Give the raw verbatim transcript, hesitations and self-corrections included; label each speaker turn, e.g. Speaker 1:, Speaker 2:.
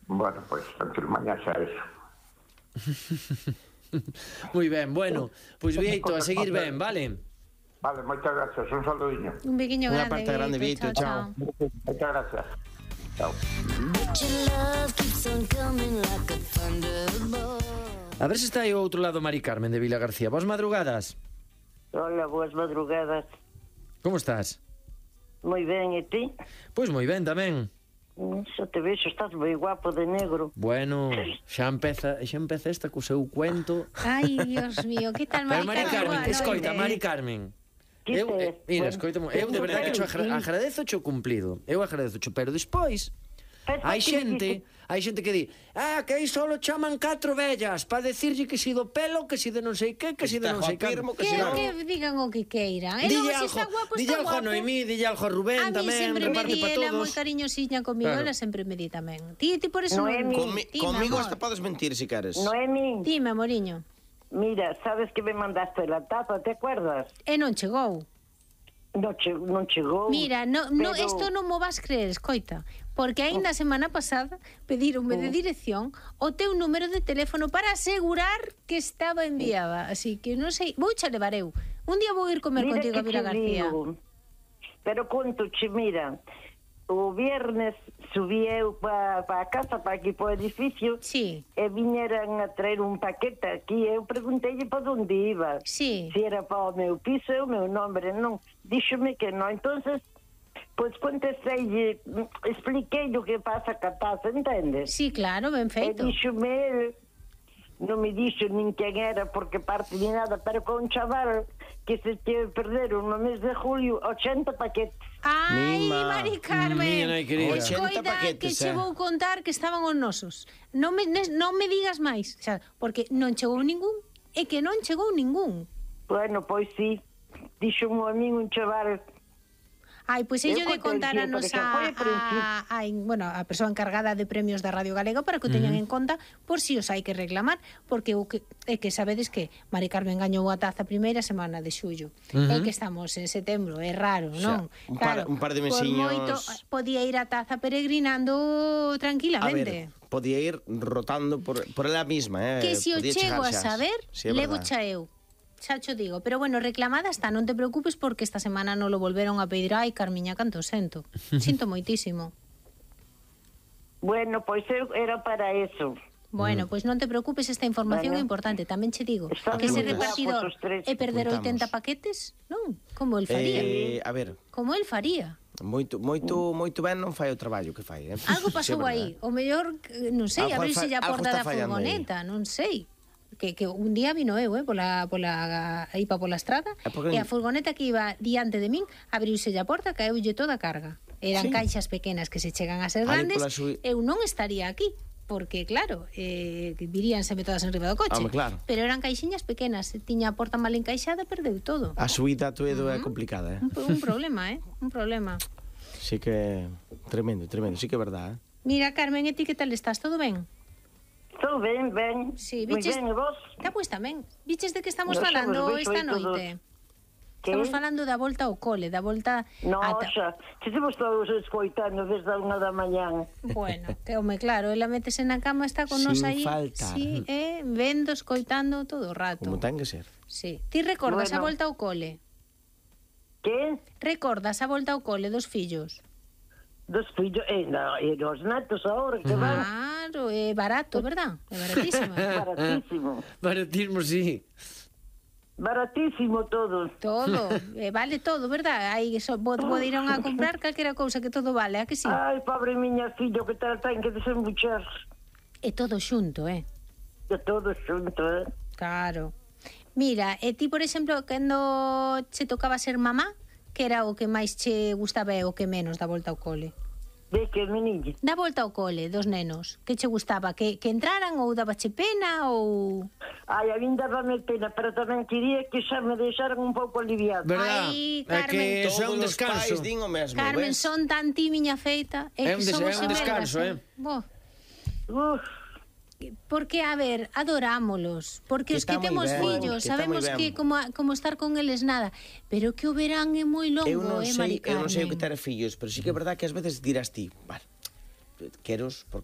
Speaker 1: Bueno, pois, antes mañá xa eso.
Speaker 2: Moi ben, bueno, pois Vieito, a seguir ben, vale?
Speaker 1: Vale, moitas gracias, un saludiño.
Speaker 3: Un bequiño
Speaker 4: Unha
Speaker 3: grande,
Speaker 4: parte grande, Vieito, chao.
Speaker 1: Moitas gracias. Chao.
Speaker 2: A ver se está aí ao outro lado Mari Carmen de Vila García. Vos madrugadas?
Speaker 5: Hola, boas madrugadas.
Speaker 2: Como estás?
Speaker 5: Moi ben, e ti?
Speaker 2: Pois moi ben tamén.
Speaker 5: Xa te vexo, estás moi guapo de negro.
Speaker 2: Bueno, xa empeza, xa empeza esta co seu cuento.
Speaker 3: Ai, Dios mío, que tal
Speaker 2: Pero
Speaker 3: Mari
Speaker 2: Mari Carmen,
Speaker 3: Carmen?
Speaker 2: escoita, Mari Carmen.
Speaker 5: Que
Speaker 2: Eu, eh,
Speaker 5: tes?
Speaker 2: mira,
Speaker 5: Bueno,
Speaker 2: escoita, eu de verdade que cho agra- agradezo cho cumplido. Eu agradezo cho, pero despois hai xente, hai xente que di, ah, que aí solo chaman catro vellas para decirlle que si do pelo, que si de non sei que, que si de non sei que.
Speaker 3: Que, que digan o que queiran. E
Speaker 2: Dille
Speaker 3: logo, se está
Speaker 2: algo,
Speaker 3: guapo,
Speaker 2: dille
Speaker 3: está
Speaker 2: algo a
Speaker 3: guapo.
Speaker 2: Noemí, dille algo a Rubén
Speaker 3: A mí
Speaker 2: tamén,
Speaker 3: sempre me
Speaker 2: reparte
Speaker 3: di,
Speaker 2: para
Speaker 3: ela moi
Speaker 2: todos.
Speaker 3: cariñosiña comigo,
Speaker 2: Claro.
Speaker 3: ela sempre me di tamén. Ti, ti por eso
Speaker 5: Noemi.
Speaker 3: non...
Speaker 4: Comi
Speaker 3: Ti,
Speaker 4: comigo
Speaker 3: mi amor.
Speaker 4: hasta podes mentir si queres.
Speaker 5: Noemi,
Speaker 3: Dime, amoriño.
Speaker 5: mira, sabes que me mandaste la taza, te acuerdas?
Speaker 3: E non chegou.
Speaker 5: Non, che, non chegou.
Speaker 3: Mira, no, no,
Speaker 5: pero-
Speaker 3: esto non mo vas creer, escoita. Porque aínda a semana pasada pedironme de dirección o teu número de teléfono para asegurar que estaba enviada. Así que non sei, vou xa levar eu. Un día vou ir comer
Speaker 5: Mira
Speaker 3: contigo a
Speaker 5: que
Speaker 3: Vila
Speaker 5: te
Speaker 3: García.
Speaker 5: digo. Pero conto, che, mira, o viernes subí eu para pa a casa, para aquí, para o edificio,
Speaker 3: Sí,
Speaker 5: e viñeran a traer un paquete aquí. Eu preguntei para onde iba.
Speaker 3: sí.
Speaker 5: Se era para o meu piso, e o meu nombre non. Díxome que non. Entonces, pois contestei, expliquei o que pasa ca taza, entendes?
Speaker 3: Sí, claro, ben
Speaker 5: E
Speaker 3: feito.
Speaker 5: díxome el, non me dixo nin quen era, porque parte ni nada, pero con un chaval que se te perderon no mes de julio ochenta paquetes.
Speaker 3: Ai,
Speaker 4: Mima.
Speaker 3: Mari Carmen.
Speaker 2: Mira, querida.
Speaker 3: Coida,
Speaker 4: ochenta paquetes,
Speaker 3: que che
Speaker 4: eh.
Speaker 3: vou contar que estaban os nosos. Non me, nes- non me digas máis, xa, porque non chegou ningún e que non chegou ningún.
Speaker 5: Bueno, pois sí, dixo un amigo, un chaval.
Speaker 3: Ai, pois ello
Speaker 5: Eu
Speaker 3: de
Speaker 5: contei
Speaker 3: contar a
Speaker 5: que,
Speaker 3: nosa
Speaker 5: porque foi
Speaker 3: a,
Speaker 5: ao principio.
Speaker 3: a, a, bueno, a persoa encargada de premios da Radio Galega para que o teñan en conta por si os hai que reclamar, porque o que é que sabedes que Mari Carmen gañou a taza a primeira semana de xullo.
Speaker 2: Uh-huh.
Speaker 3: É que estamos en setembro, é raro, non?
Speaker 4: un par- un par de
Speaker 3: por
Speaker 4: mesiños.
Speaker 3: moito podía ir a taza peregrinando
Speaker 4: A
Speaker 3: tranquilamente.
Speaker 4: ver, podía ir rotando por, por ela misma, eh?
Speaker 3: Que si o
Speaker 4: Podía
Speaker 3: chego a
Speaker 4: chegar xa.
Speaker 3: saber,
Speaker 4: Sí, é
Speaker 3: levo
Speaker 4: verdad.
Speaker 3: xa eu. Xa cho digo, pero bueno, reclamada está, non te preocupes porque esta semana non lo volveron a pedir. Ai, Carmiña, canto sento. Sinto moitísimo.
Speaker 5: Bueno, pois eu era para eso.
Speaker 3: Bueno, pois non te preocupes, esta información é
Speaker 5: Bueno.
Speaker 3: importante. Tamén che digo
Speaker 5: Están
Speaker 3: que ese
Speaker 5: moi
Speaker 3: repartidor
Speaker 5: guapos os tres.
Speaker 3: é perder
Speaker 4: Apuntamos.
Speaker 3: oitenta paquetes, non? Como el faría.
Speaker 4: Eh, a ver,
Speaker 3: Como el faría.
Speaker 4: moito moito moito ben non fai o traballo que fai, eh?
Speaker 3: Algo
Speaker 4: Sí,
Speaker 3: pasou
Speaker 4: é verdad.
Speaker 3: aí. O mellor, eh, non sei,
Speaker 4: Algo
Speaker 3: abrirse
Speaker 4: fa-
Speaker 3: a
Speaker 4: algo
Speaker 3: porta
Speaker 4: está
Speaker 3: da
Speaker 4: fallando aí.
Speaker 3: furgoneta, non sei. Que, que un día vino eu, eh, pola, pola, aí pa pola estrada,
Speaker 4: É porque-
Speaker 3: e a furgoneta que iba diante de min abriuse a porta, caeulle toda a carga. Eran
Speaker 4: Sí.
Speaker 3: caixas pequenas que se chegan a ser
Speaker 4: Aí
Speaker 3: grandes,
Speaker 4: pola sui-
Speaker 3: eu non estaría aquí, porque claro, eh, viríanseme todas en riba do coche.
Speaker 4: Home, claro.
Speaker 3: Pero eran caixiñas pequenas, tiña a porta mal encaixada, perdeu todo.
Speaker 4: A subida a Toedo é complicada, eh?
Speaker 3: Un, un problema, eh? Un problema.
Speaker 4: Sí que tremendo, tremendo, sí que é verdad, eh?
Speaker 3: Mira, Carmen, e ti que tal estás? Todo ben?
Speaker 5: Estou ben, ben.
Speaker 3: Sí,
Speaker 5: Moi
Speaker 3: biches,
Speaker 5: ben, e vos?
Speaker 3: Está pois tamén. Biches de que estamos
Speaker 5: Nos
Speaker 3: falando
Speaker 5: somos, vexo
Speaker 3: esta
Speaker 5: aí todos.
Speaker 3: noite?
Speaker 5: Que?
Speaker 3: Estamos falando da volta ao cole, da volta
Speaker 5: No,
Speaker 3: a ta-
Speaker 5: xa, que se vos todos escoitando desde a unha da mañán.
Speaker 3: Bueno, que home, claro, ela métese na cama, está con
Speaker 4: Sin
Speaker 3: nos aí,
Speaker 4: falta.
Speaker 3: sí, eh, vendo, escoitando todo o rato.
Speaker 4: Como ten que ser.
Speaker 3: Sí. Ti recordas a
Speaker 5: Bueno.
Speaker 3: volta ao cole?
Speaker 5: Que?
Speaker 3: Recordas a volta ao cole dos fillos?
Speaker 5: Dos fillos, e, no, e dos netos ahora que van
Speaker 3: Claro, é barato, verdad? É baratísima.
Speaker 5: baratísimo.
Speaker 2: Baratismo, sí.
Speaker 5: Baratísimo todo.
Speaker 3: Todo, eh, vale todo, verdad? Aí so, poderon a comprar calquera cousa que todo vale, a que sí?
Speaker 5: Ai, pobre miña fillo, que tal ten que desembuchar.
Speaker 3: É todo xunto, eh?
Speaker 5: De todo xunto, eh?
Speaker 3: Claro. Mira, e ti, por exemplo, cando che tocaba ser mamá, que era o que máis che gustaba e o que menos da volta ao cole?
Speaker 5: De que, meniña?
Speaker 3: Da volta ao cole, dos nenos. Que che gustaba? Que, que entraran ou dabache pena ou...
Speaker 5: Ai, a min dábame pena, pero tamén quería que xa me deixaran un pouco aliviado.
Speaker 2: Verdad?
Speaker 3: Ai,
Speaker 2: É que
Speaker 3: Carmen.
Speaker 2: eso é un
Speaker 4: Todos os
Speaker 2: descanso.
Speaker 4: pais din o mesmo,
Speaker 3: Carmen,
Speaker 4: ves?
Speaker 3: son tan ti, miña feita.
Speaker 2: É
Speaker 3: que
Speaker 2: un des-
Speaker 3: somos
Speaker 2: é un descanso,
Speaker 3: gemelas,
Speaker 2: eh.
Speaker 3: Bo,
Speaker 5: Uf,
Speaker 3: porque, a ver, adorámolos. Porque
Speaker 4: Que
Speaker 3: os que
Speaker 4: está moi
Speaker 3: temos
Speaker 4: ben,
Speaker 3: fillos,
Speaker 4: que está
Speaker 3: sabemos
Speaker 4: moi ben.
Speaker 3: que como, como estar con eles nada. Pero que o verán é moi longo,
Speaker 4: Eu non
Speaker 3: eh,
Speaker 4: sei,
Speaker 3: Mari
Speaker 4: eu non sei o que
Speaker 3: Carmen.
Speaker 4: ter fillos, pero sí que é verdad que ás veces dirás ti, vale, queros por